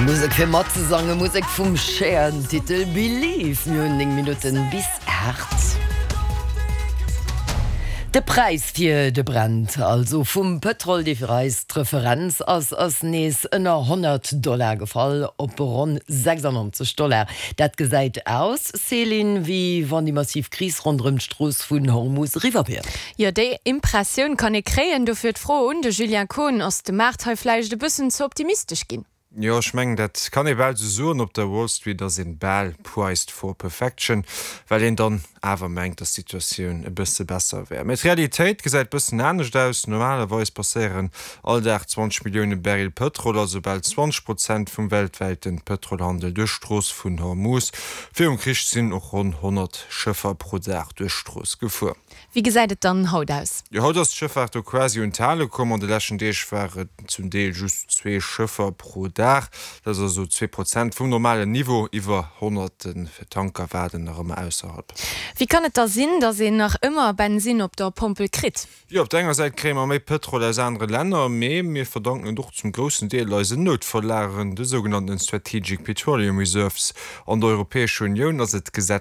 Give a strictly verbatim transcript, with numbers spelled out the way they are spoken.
Musek fir matzesangen, Musek vum Cher, den Titel Believe. Mir hunn néng Minutten bis aacht. De Präis fir de Brent, also vum Pëtrol, dee fir eis d'Referenz ass, ass nees ënner honnert Dollar gefall, op ronn sechsannonzeg Dollar. Dat gesäit aus, Céline, wéi wann déi massiv Kris ronderëm d'Strooss vun Hormus eriwwer wier. Jo, déi Impressioun kann ee kréien. Dofir d'Fro un de Julien Kohn, Ass de Maart hei vläicht e bëssen ze optimistesch ginn? Jo, ech mengen, dat kann ee bal esou soen. Op der Wall Street ass een bal priced for perfection, well een dann awer mengt, dass d'Situatioun e bësse besser wär. Mee d'Realitéit gesäit bëssen anescht aus. Normalerweis passéieren all Dag zwanzeg Millioune Barrel Pëtrol, also bal zwanzeg Prozent vum weltwäite Pëtrolhandel duerch d'Strooss vun Hormuz. Virum Krich sinn och ronn honnert Schëffer pro Dag duerch d'Strooss gefuer. Wéi gesäit et dann haut aus? Jo, haut ass d'Schëffaart do quasi un d'Hale komm. An de leschten Deeg war et zum Deel just zwee Schëffer pro Dag. Dat ass also zwee Prozent vum normalen Niveau. Iwwer honnert Tanker waarden nach ëmmer ausserhalb. Wéi kann et da sinn, datt een nach ëmmer Bensinn op der Pompel kritt? Jo, op der enger Säit kréie mer méi Pëtrol aus anere Länner, mee mir verdanken et och zum groussen Deel eisen Noutverlageren, de sougenannten Strategic Petroleum Reserves. An der Europäescher Unioun ass et gesetzlech